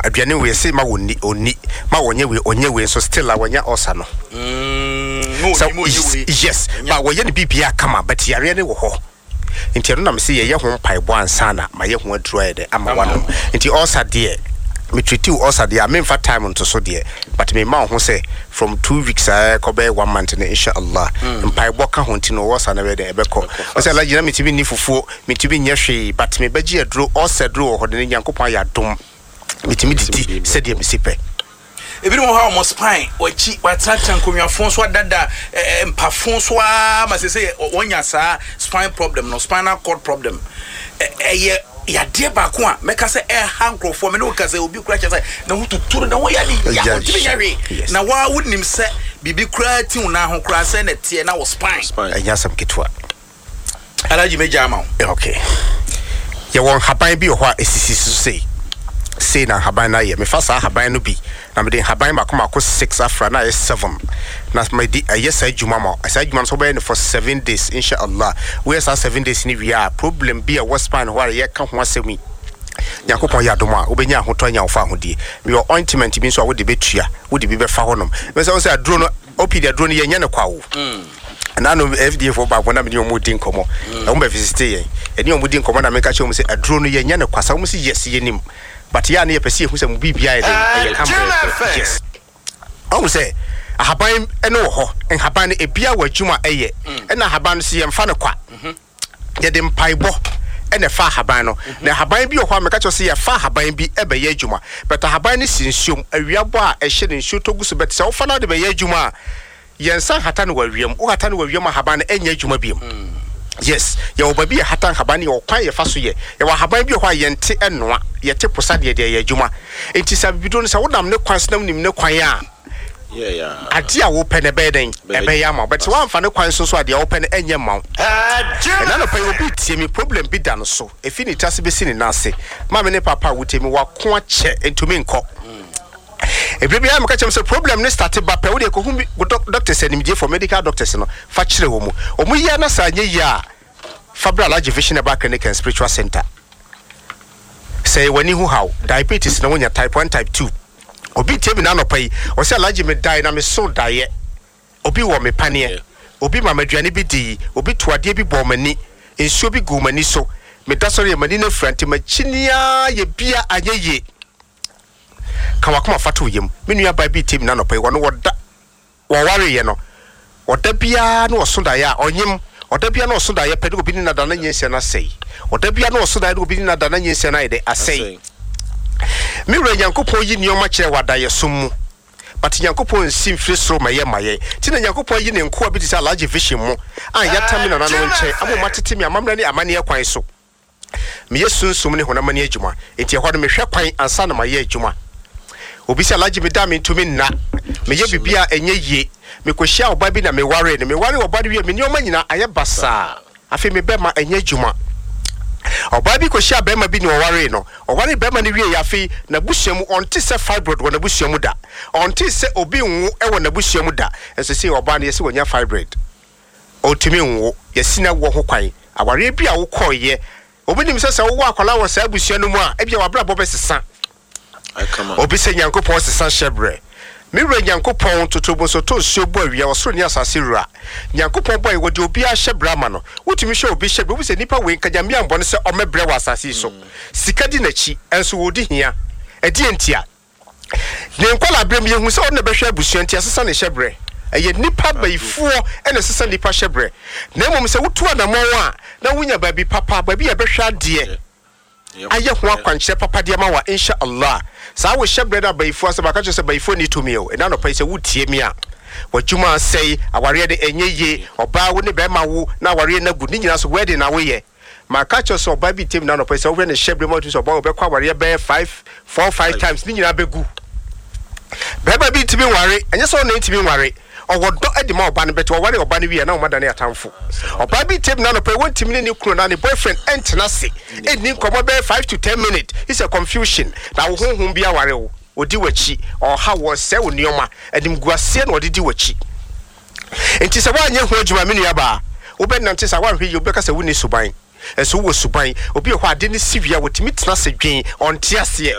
Aduane wei yɛse ma wɔnni, ɔnni, ma wɔnyɛ wei, ɔnyɛ wei nso still a wanya ulcer no. Mm, Sɛ yes, ba wɔyɛ no biribiara kama but yareɛ no wɔ hɔ. Nti ɛno na mese yɛyɛ ho mpaebɔ ansa na mayɛ ho aduro ayɛ dɛ ama wanom. Nti ulcer deɛ, me treat wo ulcer deɛ a memfa time nto so deɛ but mema wo ho sɛ from 2 weeks a ɛkɔ bɛyɛ one month no, insha Allah, mpaebɔ ka ho nti no ulcer no bɛyɛ dɛ ɛbɛkɔ. Ɔsɛ Alhaji na metumi nni fufuo, metumi nyɛ hwee, but mebɛgye aduro, ulcer aduro wɔ hɔ de ne Nyankopɔn ayɛ adom, metumi didi sɛdeɛ mesi pɛ. Ebinom wɔ hɔ a wɔn spine, wɔakyi, wɔatenatena nkonnwafo so adada, mpafo so ara ma sɛ wɔnya saa spine problem no, spinal cord problem. Ɛyɛ yadeɛ baako a mɛka sɛ ɛha nkurɔfoɔ. Mene woka sɛ obi kora kyɛ sɛ ne ho tutu no, ne ho yɛ ne ya, ɔntumi nyɛ hwee, na waa wonim sɛ biribi koraa ti wo nan ho koraa sɛ na ɛteɛ na wɔ spine. Ɛnyɛ asɛm ketewa. Alhaji, mɛgya ama wo. Okay, yɛwɔ nhaban bi wɔ hɔ a ɛsisi so sei sei na nhaban no ayɛ. Mefa saa nhaban no bi na mede nhaban mako mako six afra na ayɛ seven na mede ɛyɛ saa adwuma ma saa adwuma no so. Wobɛyɛ no for 7 days, insha Allah. Woyɛ saa 7 days no wie a, problem bi a ɛwɔ spine hɔ a yɛka ho asɛm yi, Nyankopɔn yɛ adom a, wobɛnya ahotɔ, anya wo fa ahodie. Mewɔ ointment bi nso a wode bɛtua, wode bi bɛfa hɔnom. Mɛsɛ wo sɛ aduro no, OPD aduro no, yɛnyɛ no kwa o. Ɛna no FDA fo baako na mene ɔmo di nkɔmmɔ, ɛmo bɛ visit yɛn, ɛne ɔmo di nkɔmmɔ na meka kyerɛ ɔmo sɛ aduro no yɛnyɛ no kwa sa. Ɔmo sɛ yes, yɛnim, but yɛ a ne yɛpɛ sɛ yɛhu sɛ mo biribia yɛ den, ɛyɛ kama. Yes, ɔmo sɛ ahaban ɛno wɔ hɔ, nhaban no ebia wɔ adwuma a ɛyɛ, ɛna ahaban no so yɛmfa no kwa, yɛde mpaebɔ ɛna ɛfa ahaban no. Na ahaban bi wɔ hɔ a meka kyerɛ sɛ yɛfa ahaban bi ɛbɛyɛ adwuma, but ahaban no si nsuom, awia bɔ a ɛhyɛ no, nsuo tɔ gu so, but sɛ wofa no wode bɛyɛ adwuma a, yɛnsa hata no wɔ awiam. Wohata no wɔ awiam, ahaban no ɛnyɛ adwuma biom. Yes, yɛwɔ baabi yɛ hata nhaban no, yɛwɔ kwan yɛfa so yɛ. Yɛwɔ ahaban bi wɔ hɔ a yɛnte ɛnoa, yɛte posa deɛ deɛ yɛ adwuma. Nti sɛ abibiduro no, sɛ wonam ne kwan so na wonim ne kwan a, adeɛ a wopɛ no ɛbɛyɛ dɛn? Ɛbɛyɛ ama wo. But sɛ woamfa ne kwan so nso a, deɛ wopɛ no ɛnyɛ mma wo. Ɛna nɔpa yi, obi tie me, problem bi da no so ɛfi ne ti ase bɛsi ne nan ase. Maame ne papa a wotie me, wako akyɛ ntumi nkɔ. Ebire biara meka kyerɛ m sɛ problem ne start ba pɛ, wode kɔhu bi doctors animdiefoɔ, medical doctors no, fa kyerɛ wɔ mu. Ɔmo yia na saa nyɛ yie a, fa bra Alhaji Vision Herbal Clinic and Spiritual Center. Sɛ yɛ w'ani ho haw, diabetes na wonya type 1, type 2. Obi tie mi n'anɔpa yi, ɔsɛ Alhaji, me dae na me so daeɛ obi wɔ me paneɛ, obi ma m'aduane bi di, obi to adeɛ bi bɔɔ m'ani, nsuo bi gu m'ani so, meda sɔre yɛ m'ani no afira, nti m'akyiniaa yɛ bia anyɛ yie. Ka wakoma fa to yam. Me nua baa bi tie mi n'anɔpa yi, wɔno wɔda wɔwareyɛ no, ɔda biara na ɔso daeɛ a ɔnyem. Ɔda biara na ɔso daeɛ pɛ ne obi ne nada na nyinsɛn no asɛe. Ɔda biara na ɔso daeɛ ne obi ne nada na nyinsɛn no ayɛ dɛ asɛe. Me wura Nyankopɔn yi nneɛma kyerɛ wɔ adayɛsom mu, but Nyankopɔn nsi mfiri soro ma yɛ ma yɛn. Nti na Nyankopɔn ayi ne nkoa bi te sɛ Alhaji Vision mu a yɛata me nananom nkyɛn ama ɔma tete me amammerɛ ne amanneɛ kwan so. Meyɛ sunsum ne honam ani adwuma, nti ɛhɔ no mehwɛ kwan ansa na mayɛ adwuma. Obi sɛ Alhaji, meda a mentumi nna, meyɛ biribi a ɛnyɛ yie. Mekɔhyia ɔbaa bi na mewaree no. Mewaree ɔbaa no wie, me nneɛma nyinaa ayɛ basaa. Afei me bɛma ɛnyɛ adwuma. Ɔbaa bi kɔhyia bɛrima bi na ɔwaree no. Ɔwaree bɛrima no wie, afei n'abusua mu ɔnte sɛ fibroid wɔ n'abusua mu da, ɔnte sɛ obi nwo wɔ n'abusua mu da. Nso sei ɔbaa no yɛsɛ wanya fibroid, ɔntumi nwo, yɛsi na wɔ ho kwan. Awareɛ bi a wokɔɔyɛ, obi nim sɛ sɛ wowɔ akwadaa wɔ saa abusua no mu a, ebia w'abrabɔ bɛsesa. Obi sɛ Nyankopɔn sesa hyɛ berɛ. Me wura Nyankopɔn totobo to nsuo bɔ awia, ɔsoro ne asase wura Nyankopɔn bɔ yɛ, wɔde obiara hyɛ berɛ ama no. Wotumi hwɛ obi hyɛ berɛ, wobi sɛ nipa wei nka Nyame ambɔ no sɛ ɔmmɛbrɛ wɔ asase yi so. Sika di n'akyi ɛnso wɔdi hia. Ɛdeɛ ntia? Ne nkwadaa berɛ mu yɛhu sɛ ɔno na bɛhwɛ abusua, nti ɛsesa ne hyɛ berɛ. Ɛyɛ nipa bayifoɔ ɛna ɛsesa nipa hyɛ berɛ. Na mmom sɛ wotu anammɔn a na wonya baabi papa, baabi a ɛbɛhwɛ adeɛ ayɛ ho akwankyerɛ papa deɛ ma wa, insha Allah, saa wo hyɛ berɛ no abayifoɔ asɛm aka kyerɛ sɛ bayifoɔ ni tumi o. Ɛna anɔpa yi sɛ wotie me a, w'adwuma asɛe, awareɛ no ɛnyɛ yie, ɔbaa wo ne bɛrima wo na awareɛ no agu ne nyinaa so, wedding na woyɛ. Maka kyerɛ sɛ ɔbaa bi tem na anɔpa yi sɛ wohwɛ ne hyɛ berɛ mu a, wotumi sɛ ɔbaa wɔbɛkɔ awareɛ bɛyɛ five, four, five times, ne nyinaa bɛgu. Bɛrima bi ntumi nware, ɛnyɛ sɛ ɔna ntumi nware, ɔwɔ dɔ de ma ɔba no bɛte ɔware ɔba no wie a na ɔma dane atamfo. Ɔbaa bi tem na anɔpa yi wɔntumi ne ne kunu anaa ne boyfriend ɛntena ase ɛnni nkɔmmɔ bɛyɛ 5 to 10 minutes. It's a confusion na wo honhom bi aware wo, ɔdi w'akyi, ɔha wo, ɔsɛe wo nneɛma, animguaseɛ na ɔde di w'akyi. Nti sɛ woanyɛ ho adwuma, me nuabaa, wobɛnante saa, woanhwɛ yie wobɛka sɛ wonni suban. Ɛnso wowɔ suban. Obi wɔ hɔ, ade ne si wie a, wɔtumi tena ase dwen, ɔnte aseɛ.